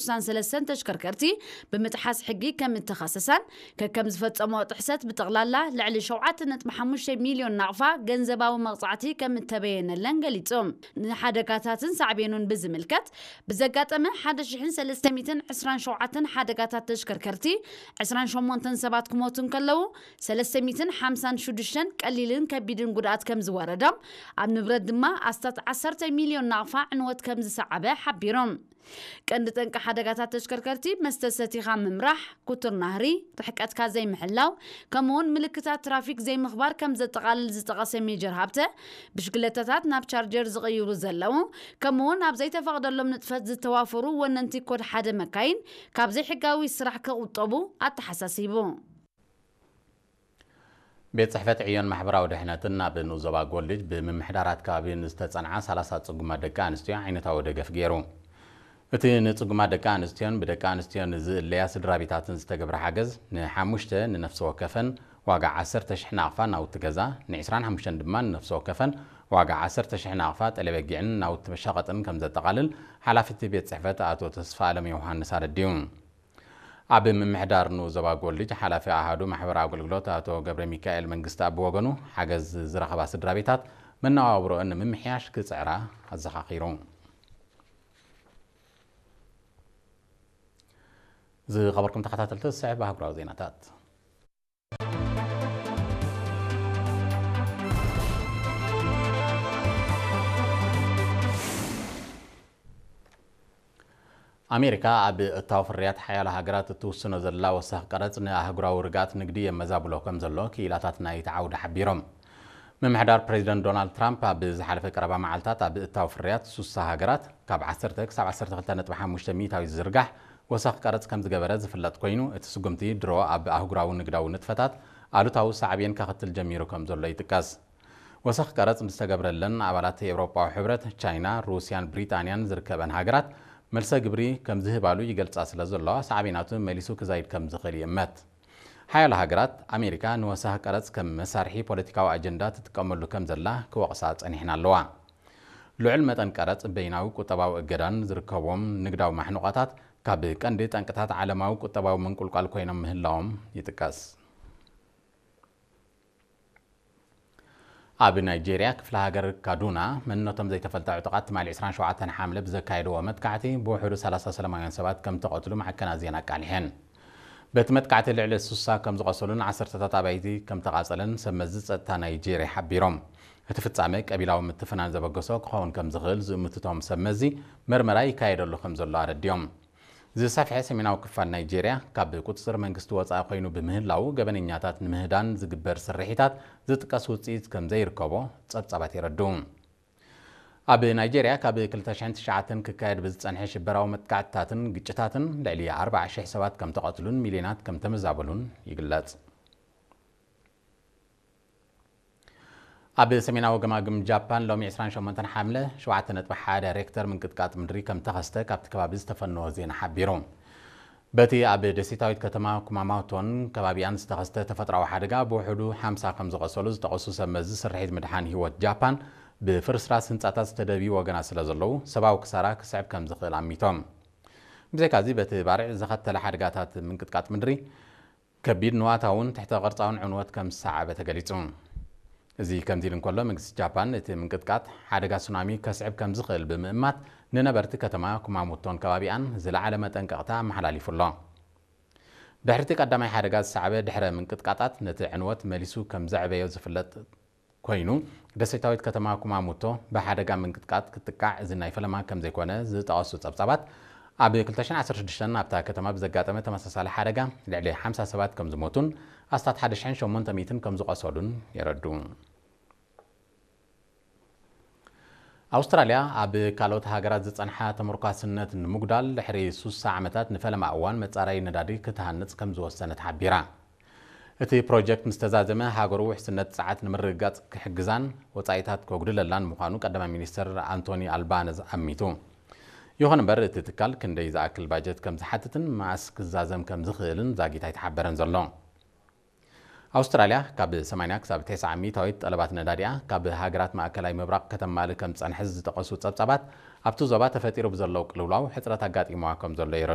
ስሳን ሰለስተን ተሽከርከርቲ ብምጥሓስ ሕጊ ከም እተኸሰሳን፣ ከከም ዝፈጸሞ ጥሕሰት ብጠቕላላ ልዕሊ ሸውዓተ ነጥቢ ሓሙሽተ ሚልዮን ናቕፋ ገንዘባዊ መቕጻዕቲ ከም እተበየነለን ገሊጹ። ንሓደጋታትን ሳዕቤኑን ብዝምልከት፣ ብዘጋጠመ ሓደ ሽሕን ሰለስተ ሚእትን ዕስራን ሸውዓተን ሓደጋታት ተሽከርከርቲ፣ ዕስራን ሸሞንተን ሰባት ክሞቱ እንከለዉ፣ ሰለስተ ሚእትን ሓምሳን ሽዱሽተን ቀሊልን ከቢድን ጉድኣት ከም ዝወረዶም፣ ኣብ ንብረት ድማ ኣስታት ዓሰርተ ሚልዮን ናቕፋ ዕንወት ከም ዝሰዓበ ሓቢሮም። ቀንዲ ጠንቂ ሓደጋታት ተሽከርከርቲ መስተ ሰቲኻ ምምራሕ፣ ኩቱር ናህሪ፣ ርሕቀትካ ዘይምሕላው፣ ከምኡውን ምልክታት ትራፊክ ዘይምኽባር ከም ዘጠቓልል ዝጠቐሰ ሜጀር ሃብተ፣ ብሽክለታታት ናብ ቻርጀር ዝቕይሩ ዘለዉ፣ ከምኡውን ኣብ ዘይተፈቕደሎም ንጥፈት ዝተዋፈሩ ወነንቲ ኮድ ሓደ መካይን ካብ ዘይሕጋዊ ስራሕ ክቑጠቡ ኣተሓሳሲቡ። ቤት ጽሕፈት ዕዮን ማሕበራዊ ድሕነትን ኣብ ንኡስ ዞባ ጎልጅ ብምምሕዳራት ከባቢ ንዝተጸንዓ ሰላሳ ጽጉማት ደቂ ኣንስትዮ ዓይነታዊ ደገፍ ገይሩ። እቲ ንጽጉማት ደቂ ኣንስትዮን ብደቂ ኣንስትዮ ንዝእለያ ስድራ ቤታትን ዝተገብረ ሓገዝ፣ ንሓሙሽተ ንነፍሲ ወከፈን ዋጋ ዓሰርተ ሽሕ ናቕፋ ናውቲ ገዛ፣ ን ዕስራን ሓሙሽተን ድማ ንነፍሲ ወከፈን ዋጋ ዓሰርተ ሽሕ ናቕፋ ጠለበጊዕን ናውቲ መሻቐጥን ከም ዘጠቓልል ሓላፊ እቲ ቤት ጽሕፈት ኣቶ ተስፋ ኣለም ዮሃንስ ኣረዲኡ። ኣብ ምምሕዳር ንኡስ ዞባ ጎልጅ ሓላፊ ኣሃዱ ማሕበራዊ ኣገልግሎት ኣቶ ገብረ ሚካኤል መንግስቲ ኣብ ወገኑ፣ ሓገዝ ዝረኸባ ስድራ ቤታት መነባብሮአን ንምምሕያሽ ክጽዕራ ኣዘኻኺሩ። ዝኸበርኩም ተኸታተልቲ፣ ዝስዕብ ኣህጉራዊ ዜናታት። ኣሜሪካ ኣብ እታው ፍርያት ሓያሎ ሃገራት እትውስኖ ዘላ ወሳኽ ቀረጽ ንኣህጉራዊ ርግኣት ንግዲ የመዛብሎ ከም ዘሎ ክኢላታት ናይቲ ዓውዲ ሓቢሮም። ምምሕዳር ፕሬዚደንት ዶናልድ ትራምፕ ኣብ ዝሓለፈ ቀረባ መዓልታት ኣብ እታው ፍርያት ሱሳ ሃገራት ካብ ዓሰርተ ክሳብ ዓሰርተ ክልተ ነጥቢ ሓሙሽተ ሚእታዊት ዝዝርጋሕ ወሳኽ ቀረጽ ከም ዝገበረ ዝፍለጥ ኮይኑ፣ እቲ ስጉምቲ ድሮ ኣብ ኣህጉራዊ ንግዳዊ ንጥፈታት ኣሉታዊ ሳዕቤን ከኽትል ጀሚሩ ከም ዘሎ ይጥቀስ። ወሰኽ ቀረጽ ዝተገብረለን ኣባላት ኤውሮጳዊ ሕብረት፣ ቻይና፣ ሩስያን ብሪጣንያን ዝርከበን ሃገራት መልሰ ግብሪ ከም ዝህባሉ ይገልጻ ስለ ዘለዋ፣ ሳዕቤናቱ መሊሱ ክዛይድ ከም ዝኽእል ይእመት። ሓያሎ ሃገራት፣ ኣሜሪካ ንወሳኺ ቀረጽ ከም መሳርሒ ፖለቲካዊ ኣጀንዳ ትጥቀመሉ ከም ዘላ ክወቕሳ ጸኒሕን ኣለዋ። ልዑል መጠን ቀረጽ፣ በይናዊ ቁጠባዊ እገዳን ዝርከቦም ንግዳዊ ማሕንቆታት ካብ ቀንዲ ጠንቅታት ዓለማዊ ቁጠባዊ ምንቁልቋል ኮይኖም ምህላዎም ይጥቀስ። ኣብ ናይጄርያ ክፍለ ሃገር ካዱና መንነቶም ዘይተፈልጠ ዕጡቓት ትማሊ ዕስራን ሸውዓተን ሓምለ ብዘካየድዎ መጥቃዕቲ ብውሕዱ ሰላሳ ሰላማውያን ሰባት ከም ተቐትሉ ማዕከናት ዜና ኣቃሊሐን። በቲ መጥቃዕቲ ልዕሊ ስሳ ከም ዝቖሰሉን ዓሰርተታት ኣባይቲ ከም ተቓጸለን ሰብ መዚ ጸጥታ ናይጄርያ ሓቢሮም። እቲ ፍጻመ ቀቢላዊ ምትፍናን ዘበገሶ ክኸውን ከም ዝኽእል ዝእምቱ እቶም ሰብ መዚ፣ መርመራ ይካየደሉ ከም ዘሎ ኣረዲኦም። ዝሰፍሐ ሰሜናዊ ክፋል ናይጄርያ ካብ ቁጽጽር መንግስቲ ወጻኢ ኮይኑ ብምህላዉ፣ ገበነኛታት ንምህዳን ዝግበር ስርሒታት ዝጥቀስ ውጽኢት ከም ዘይርከቦ ጸብጻባት የረድኡ። ኣብ ናይጄርያ ካብ ክልተ ሽሕን ትሽዓተን ክካየድ ብዝጸንሐ ሽበራዊ መጥቃዕትታትን ግጭታትን ልዕሊ ኣርባዓ ሽሕ ሰባት ከም ተቐትሉን ሚልዮናት ከም ተመዛበሉን ይግለጽ። ኣብ ሰሜናዊ ገማግም ጃፓን ሎሚ ዕስራን ሸሞንተን ሓምለ ሸውዓተ ነጥቢ ሓደ ሬክተር ምንቅጥቃጥ ምድሪ ከም ተኸስተ ካብቲ ከባቢ ዝተፈነወ ዜና ሓቢሩ። በቲ ኣብ ደሴታዊት ከተማ ኩማማቶን ከባቢኣን ዝተኸስተ ተፈጥሮኣዊ ሓደጋ ብውሕዱ ሓምሳ ከም ዝቐሰሉ ዝጠቐሱ ሰብ መዚ ስርሒት ምድሓን ህይወት ጃፓን፣ ብፍርስራስ ህንጻታት ዝተደብዩ ወገናት ስለ ዘለዉ፣ ሰብኣዊ ክሳራ ክስዕብ ከም ዝኽእል ኣሚቶም። ብዘይካዚ፣ በቲ ባርዕ ዘኸተለ ሓደጋታት ምንቅጥቃጥ ምድሪ፣ ከቢድ ንዋታውን ትሕተ ቅርጻውን ዕንወት ከም ዝሰዓበ ተገሊጹ። እዚ ከምዚ ኢሉ እንከሎ፣ መንግስቲ ጃፓን እቲ ምንቅጥቃጥ ሓደጋ ሱናሚ ከስዕብ ከም ዝኽእል ብምእማት፣ ንነበርቲ ከተማ ኩማሞቶን ከባቢኣን ዝለዓለ መጠንቀቕታ ኣመሓላሊፉ ኣሎ። ድሕሪ እቲ ቀዳማይ ሓደጋ ዝሰዓበ ድሕረ ምንቅጥቃጣት፣ ነቲ ዕንወት መሊሱ ከም ዘዕበዮ ዝፍለጥ ኮይኑ፣ ደሴታዊት ከተማ ኩማሞቶ ብሓደጋ ምንቅጥቃጥ ክትጥቃዕ እዚ ናይ ፈለማ ከም ዘይኮነ ዝጠቐሱ ጸብጻባት፣ ኣብ ክልተ ሽሕን ዓሰርተ ሽዱሽተን ኣብታ ከተማ ብዘጋጠመ ተመሳሳሊ ሓደጋ ልዕሊ ሓምሳ ሰባት ከም ዝሞቱን ኣስታት ሓደ ሽሕን ሸሞንተ ሚእትን ከም ዝቖሰሉን የረድኡ። ኣውስትራልያ ኣብ ካልኦት ሃገራት ዝጸንሓ ተመርኳስነት ንምጉዳል ድሕሪ ሱሳ ዓመታት ንፈለማ እዋን መጻረዪ ነዳዲ ክትሃንጽ ከም ዝወሰነት ሓቢራ። እቲ ፕሮጀክት ምስ ተዛዘመ፣ ሃገሩ ውሕስነት ጸዓት ንምርግጋጽ ክሕግዛን ወጻኢታት ከጉድለላን ምዃኑ ቀዳማይ ሚኒስትር ኣንቶኒ ኣልባነዝ ኣሚቱ። ይኹን እምበር፣ እቲ ትካል ክንደይ ዝኣክል ባጀት ከም ዝሓትትን መኣስ ክዛዘም ከም ዝኽእልን ዛጊት ኣይተሓበረን ዘሎ። ኣውስትራልያ ካብ ሰማንያ ክሳብ ተስዓ ሚእታዊት ጠለባት ነዳዲኣ ካብ ሃገራት ማእከላይ ምብራቕ ከተማልእ ከም ዝጸንሐ ዝጠቐሱ ጸብጻባት፣ ኣብቲ ዞባ ተፈጢሩ ብዘለዉ ቅልውላው ሕጽረት ኣጋጢምዋ ከም ዘሎ የረድኡ።